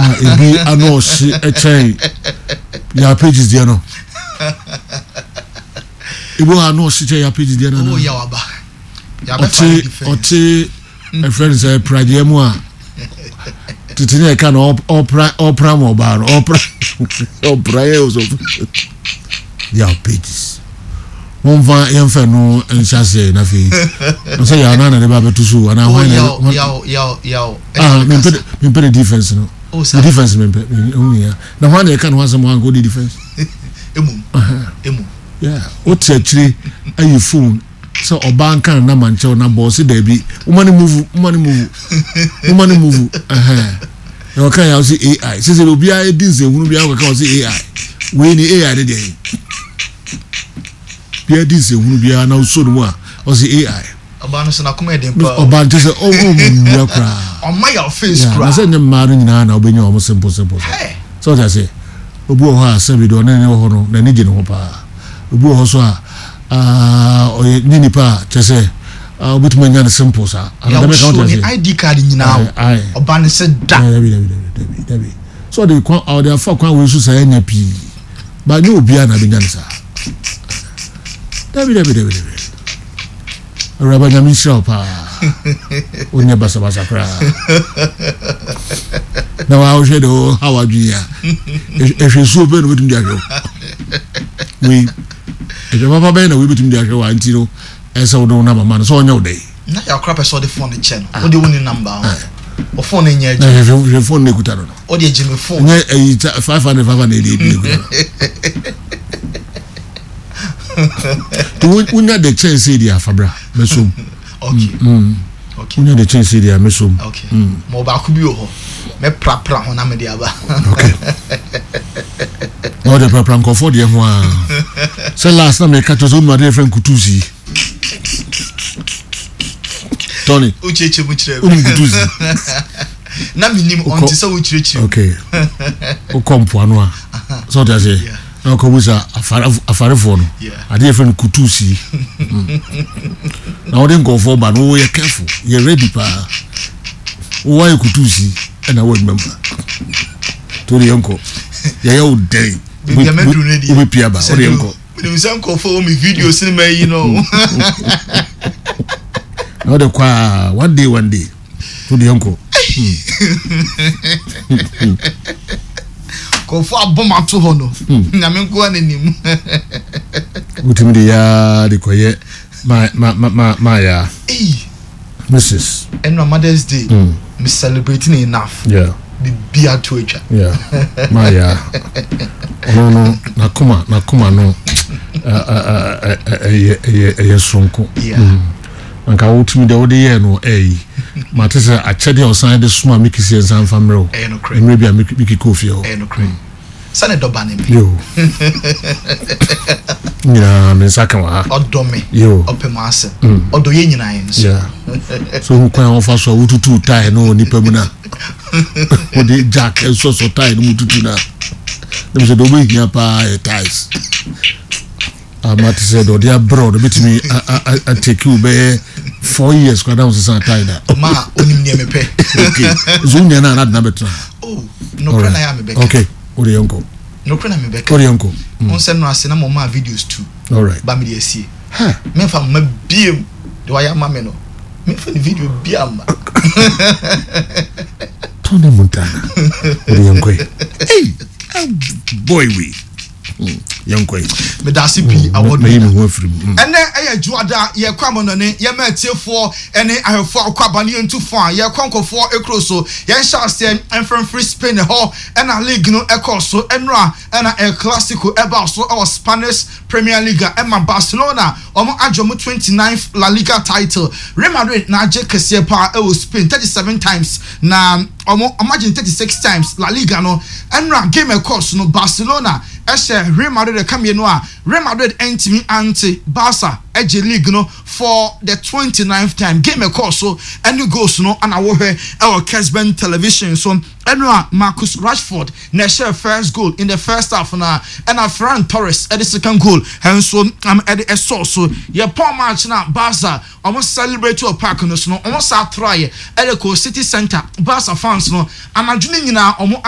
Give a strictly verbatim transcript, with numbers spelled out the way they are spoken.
A ebi ano ɔhye ɛkyɛn Yaw Pages deɛ no. Ebi wɔ ano ɔhye kyɛn Yaw Pages deɛ no. Oh, yaw aba. Ɔte ɔte ɛfrɛ no sɛ pradeɛ mu a tete ne ɛka no, ɔpra ɔpra ma ɔbaa no ɔpra ɔpra yɛ ɔsɔ. Yaw Pages, wɔmfa yɛmfa no nhyɛ aseɛ na afei sɛ yaw na na de ba bɛto so anaa hwan na yaw yaw yaw yaw. Ah, mempɛ mempɛ ne defense no. Oh, ne defense mempɛ ɛho hia na hwan na ɛka ne ho asɛm hwan ka ɔdi defense. Emum emum. Yeah, wote akyire ayi phone sɛ ɔbaa nka ne nama nkyɛw na bɔɔ se daabi, woma ne move, woma ne move, woma ne move. Ɛhɛn na ɔka yɛ ɔse A I sɛ sɛ obiara di nsɛnhunu biara kɔka ɔse A I wei ni A I ne deɛ yi biara di nsɛnhunu biara na ɔsɔ ne mu a ɔse A I. Ɔbaa no so n'akoma yɛ den paa. Ɔbaa nkyɛ sɛ ɔwɔ mu nnua koraa. Ɔma yaw face koraa. Na sɛ nyɛ mmaa no nyinaa na wobɛnya wɔn simple simple sɛ sɛ ɔte aseɛ. Obi wɔ hɔ a, sɛbi deɛ ɔne ne wɔ hɔ no, n'ani gye ne ho paa. Obi wɔ hɔ so a, ɔyɛ nye nipa a kyerɛ sɛ wobɛtumi anya no simple saa. Yaw so ne I D card nyinaa o, ɔba ne sɛ da. Dabi, dabi, dabi, dabi. So ɔde kwan ɔde afa kwan wei so saa anya pii ba, nye obiara na abɛnya no saa. Dabi, dabi, dabi, dabi. Awuraba, Nyame nhyira wo paa. Wonyɛ basabasa koraa na woahwɛ de ha wadwene a ɛhwɛ suo bɛɛ na wobɛtumi de ahwɛ wo wei, ɛhwɛ papa bɛyɛ na wei bɛtumi de ahwɛ wo a, nti no ɛsɛ wode wo nama ma no sɛ ɔnyɛ wo dɛn. Na yakora pɛ sɛ ɔde phone kyɛ no, wode wo ne number ho o, phone no nyɛ na adwuma. Hwɛ, hwɛ phone no ekuta no no Wode agye me phone. Nyɛ ɛyi five hundred five hundred ebi ekuta no nti wonya de kyɛn sɛ di afabra mɛsom. okay okay Wonya de kyɛn sɛ di a, mɛsom. Okay, ma ɔbaako bi wɔ hɔ, mɛprapra ho na mede aba. Okay, na ɔde prapra nkɔfoɔ deɛ ho a sɛ last na meka kyerɛ sɛ wonu adeɛ fɛ nkutusi, Tony. Wokyerɛkyerɛ mu kyerɛ. Wonim nkutusi? Na menim ɔnte sɛ wokyerɛkyerɛ mu. Okay, wokɔ mpoano a, sɛ ɔte aseɛ Yeah. na wokɔbu sa afarefoɔ no Yeah. adeɛ fɛ no kutusi na wode nkɔfoɔ ba no, woyɛ careful, yɛ ready paa. Wowayɛ kutusi ɛna wo adwuma mu nti wode yɛnkɔ yɛyɛ wo dɛn. Baabi a mɛduru no deɛ Wobɛpia ba, wode yɛnkɔ. Menim sɛ nkɔfoɔ wɔ me video cinema yi no. Na wode kɔ a, one day, one day, wode yɛnkɔ. Nkɔfoɔ abɔ m ato hɔ no, Nyame nko a n'anim. Wotumi de yaa de kɔyɛ ma ma ma ma maayaa Ei. Missus Ɛnna Mother's Day me celebrating enough. Yeah bibi ato atwa. Yeah, maayaa ɔno no n'akoma n'akoma no ɛyɛ ɛyɛ ɛyɛ soronko. Yeah. Nka wotumi deɛ wode yɛɛ no, ɛyi mate sɛ akyɛdeɛ a ɔsan de soma me kisi nsa mfa mmerɛ wo. Ɛyɛ nokorɛ. Mmerɛ bi a miki kɔɔ fie hɔ. Ɛyɛ nokorɛ sɛne dɔba ne me. Yo, nyinaa me nsa ka wɔ ha. Ɔdɔ me. Yo. Ɔpɛ mu asɛm, ɔdɔ yɛ nyinaa yɛn nso. Yeah. So hu kwan a wɔfa so a wotutu tae no wɔ nipa mu no a wode jack nsɔsɔ tae no mu tutu no a, na mesɛ deɛ wobɛhia paa yɛ ties ama te sɛ deɛ ɔde abrɛ wo no bɛtumi atake wo bɛyɛ four years koraa na wo sesa tae da. Ma onim nea mepɛ. Okay, so wonya no a na adena bɛtena. Oh, nokorɛ na yɛ a mebɛka. Okay, wode yɛnkɔ. Nokorɛ na mebɛka. Wode yɛnkɔ. Wo nsɛ no ase na mɔmaa videos tu alright ba mede asie. Ha. Memfa mma biem de wayɛ ama me no, memfa ne video bia mma. Tony Montana, wode yɛnkɔ yi. Hey, boy, wei yɛnkɔ yi. Meda ase pii, award mayi me winner. ho afiri mu. Mm. Ɛnɛ ɛyɛ dwoada, yɛkɔ amɔnɔne, yɛma atiefoɔ ɛne ahwɛfoɔ a wokɔ aba ne yɛntu fo a yɛkɔ nkɔfoɔ ekuro so. Yɛnhyɛ aseɛ mfimfiri Spain hɔ ɛna league no ɛkɔɔ so ɛnora, ɛna El Clasico ɛbaa so ɛwɔ Spanish Premier League a ɛma Barcelona wɔn agye wɔn twenty-ninth La Liga title. Real Madrid na agye kɛseɛ paa ɛwɔ Spain thirty-seven times, na wɔn wɔn agye thirty-six times La Liga no. Ɛnora game ɛkɔɔ so no, Barcelona ɛhyɛ Real Madrid ɛka mmienu a Real Madrid ɛntumi ante. Barca ɛgye league no for the twenty-ninth time. Game ɛkɔɔ so ɛne goals no ana wɔhwɛ ɛwɔ Kesben Television so. Ɛnora Marcus Rashford na ɛhyɛ first goal in the first half, na ɛna Ferran Torres ɛde second goal ɛnso um, ɛde ɛsɔɔ so. Yɛ pɔn match na Barca ɔmo celebrate wɔ park no so no, ɔmo sa atraeɛ ɛde kɔ city center. Barca fans no anadwo no nyinaa ɔmo